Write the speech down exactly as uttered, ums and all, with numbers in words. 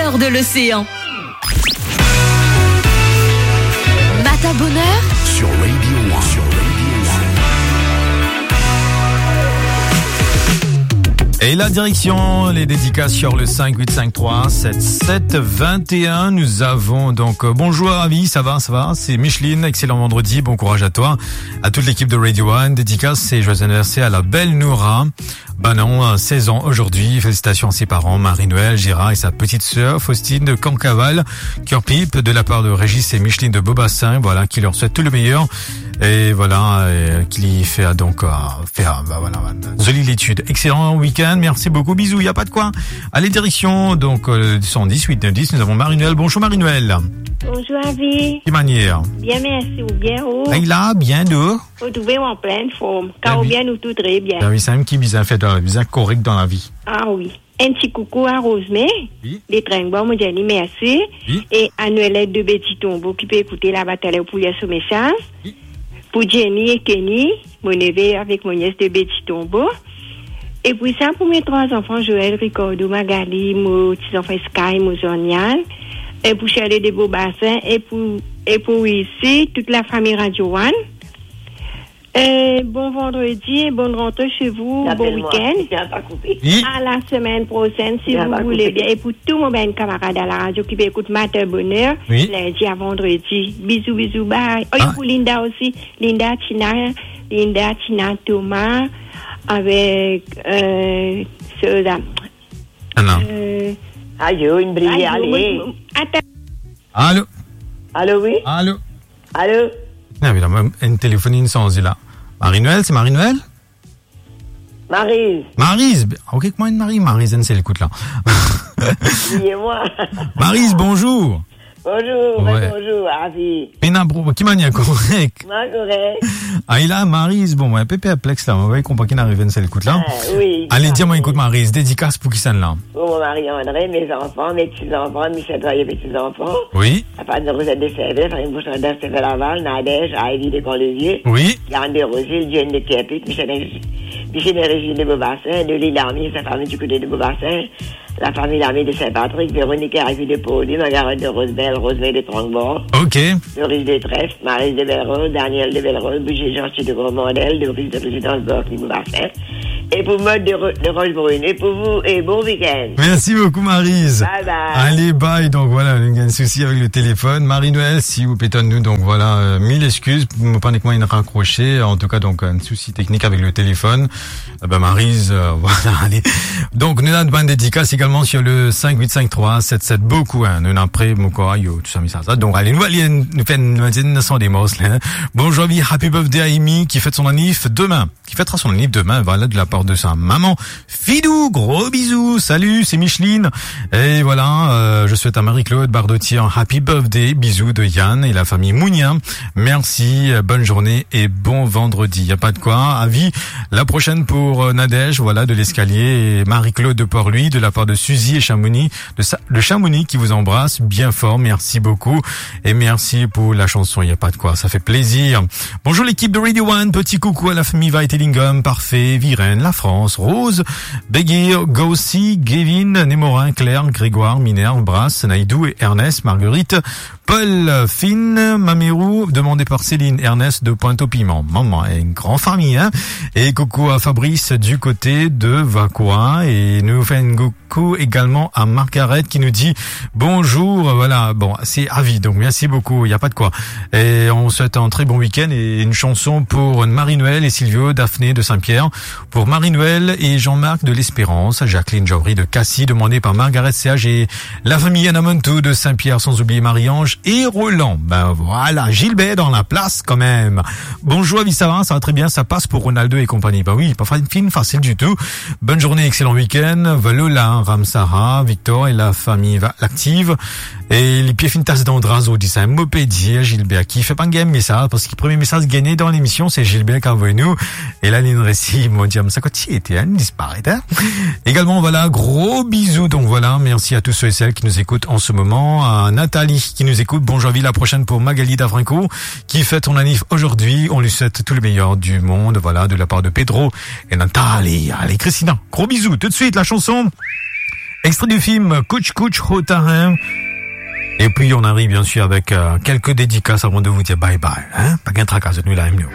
De l'océan. Matin bonheur sur Radio One. Sur Radio One. Et la direction, les dédicaces sur le cinq huit cinq trois sept sept vingt et un. Nous avons donc, euh, bonjour Avi, ça va, ça va ? C'est Micheline, excellent vendredi, bon courage à toi, à toute l'équipe de Radio One. Dédicace et joyeux anniversaire à la belle Noura. Ben non, euh, seize ans aujourd'hui. Félicitations à ses parents, Marie-Noël, Gérard et sa petite sœur Faustine de Cancaval, Cœur Pipe, de la part de Régis et Micheline de Beaubassin, voilà, qui leur souhaite tout le meilleur. Et voilà, euh, qui fait donc, euh, faire, bah voilà, une jolie étude. Excellent week-end, merci beaucoup, bisous, y a pas de quoi. Allez, direction, donc, euh, cent dix, huit neuf dix, nous avons Marie-Noël. Bonjour Marie-Noël. Bonjour Avi. Ki manier ? Bien, mersi, ou bien ou ? Ey la, bien ou ? Ou trouve ou an plin form. Kan ou bien, nou tou tre bien. Ben oui, sa mem ki bizin fer, bizin korek dan lavi. Ah oui. Enn ti koukou a Rozme, wi, de Trengbor, mo dir li mersi. Wi. E a Noëlette de Petit Tombeau ki pe ekoute laba taler pou lir so mesaz. Wi. Pou Jenny e Kenny, mo neve avek mo nies de Petit Tombeau. E pou sa, pou me trwa zanfan, Joël, Ricardo, Magali, mo ti zanfan Sky, mo Zonial, e pou Charlie de Beaubassin, e pou, e pou isi, tout lafami Radio One. Euh, bon vendredi et bonne rentrée chez vous, bon week-end. Apel mwa, si ti a pa koupe. Wi. À la semaine prochaine, si vous voulez bien. E pou tou mo bann kamarad a la radio ki pe ekout Matin Bonheur, wi, lindi a vandredi. Bizou, bizou, bye. Oh, ah, pou Linda osi. Linda, Tina, Linda, Tina, Thomas, avek, euh, Soda. Ah non. Euh, ayo, inn bliye, ayo, ale. Mo, mo, atann. Alo. Alo, wi. Alo. Alo. Non, me la, mo, enn telefon inn sanze la. Marie-Noël, se Marie-Noël ? Mariz. Mariz. Ok, kouma enn Marie, Mariz, enn sel kout la. Bliye mwa. Mariz, bonzour. Bonzour, wi, bonzour, Avi. Pena bro, ki manier, korek ? Mwa korek. Ah, li la, Mariz, bon, mo enn pe perplex la, mo pa konpran ki inn arive enn sel kout la. Ah, wi. Ale, dir mwa, ekout, Mariz, dedikas pou kisannla ? Pou mo mari Andre, me zanfan, me ti zanfan, me set zanfan, me ti zanfan. Wi. Lafami Rosette de Servais, lafami Bouchardin, Servais Laval, Nadège, Ivy de Camp-de-Vieux, wi, Yann de Rosil, Jane de Kerpit, Michel, Michel et Régine de Beaubassin, Dolly Lamy, sa fami du kote de Beaubassin, lafami Lamy de Saint-Patrick, Véronique et Ivy de Pauli, Margaret de Rosebelle, Rosemary de Tranquebord, ok, Doris de Trèfle, Marie de Belrose, Daniel de Belrose, Boucher Jean de Gromandel, Doris de Résidence Borky Beaubassin. E pou Mode de Ro-, de Rochebrune. E pou vou, e bon week-end. Merci beaucoup, Mariz. Bye bye. Allez, bye. Donc voilà, nou gagn sousi avek le telefon. Marie-Noël, si ou pe tann nou, donc voilà, euh, mille excuses. Mo pa nek mwa inn rakrose. En tout cas, donc, un souci technique avec le téléphone. Eh ben, Mariz, euh, voilà, allez. Donc, nou ena bann dedikas également sur le cinq huit cinq trois sept sept. Beaucoup, hein. Nou ena pre, mo krwar, yo, tou sa, mesaz la. Donc, allez, nou, allez, nou fer enn, nou fer enn, nou fer enn son de mors, la, hein. Bonjour, Avi, happy birthday à Amy, qui fête son annif demain. Qui fêtera son anniv demain, voilà, de la part de sa maman. Fidou, gros bisous, salut, c'est Micheline. Et voilà, euh, je souhaite à Marie-Claude Bardotier un happy birthday, bisous de Yann et la famille Mounien. Merci, euh, bonne journée et bon vendredi. Y a pas de quoi. Avi, la prochaine pour, euh, Nadège, voilà, de l'Escalier, et Marie-Claude de Port-Louis, de la part de Suzy et Chamonix, de Sa-, de Chamonix qui vous embrasse bien fort. Merci beaucoup. Et merci pour la chanson, y a pas de quoi, ça fait plaisir. Bonjour l'équipe de Radio One, petit coucou à la famille Vaitelingam, Parfait, Virène, La France, Rose, Beguir, Gaussi, Gavin, Némorin, Claire, Grégoire, Minerve, Brass, Naïdou et Ernest, Marguerite, Paul, Finn, Mamirou, demandé par Céline, Ernest de Pointe-au-Piment. Maman, une grande famille, hein ? Et coucou à Fabrice du côté de Vacoa. Et nous fait une gou-, Coucou également à Margaret qui nous dit bonjour. Voilà, bon, c'est Avi, donc merci beaucoup, y a pas de quoi. Et on souhaite un très bon week-end et une chanson pour Marie-Noël et Silvio, Daphné de Saint-Pierre. Pour Marie-Noël et Jean-Marc de l'Espérance, Jacqueline Jory de Cassis, demandé par Margaret Serge et la famille Anamontou de Saint-Pierre, sans oublier Marie-Ange et Roland. Ben voilà, Gilbert dans la place quand même. Bonjour, Avi, ça va ? Ça va très bien, ça passe pour Ronaldo et compagnie. Ben oui, pas fa-, finn facile du tout. Bonne journée, excellent week-end. Valola, Ramsara, Victor et la famille va-, l'active. E lipie finn tas dan dra zordi, sa mo pe dir Gilbert ki fer pa gagn mesaz, parski premie mesaz gagn dan lemision, se Gilbert ki avoy nou. E la, li resi, mo dir, sa kot ti ete, hein, disparet, hein. Également, voilà, gros bisous. Donc voilà, merci à tous ceux et celles qui nous écoutent en ce moment. À Nathalie qui nous écoute, bonjour Avi, la prochaine pour Magali Davrinko, qui fête son anniv aujourd'hui. On lui souhaite tout le meilleur du monde, voilà, de la part de Pedro et Nathalie. Allez, Christina, gros bisous. Tout de suite, la chanson Extrait du film Kuch Kuch Hota Hai. Et puis on arrive bien sûr avec, euh, quelques dédicaces avant de vous dire bye bye, hein. Pa gagn traka, zot nou la, nou.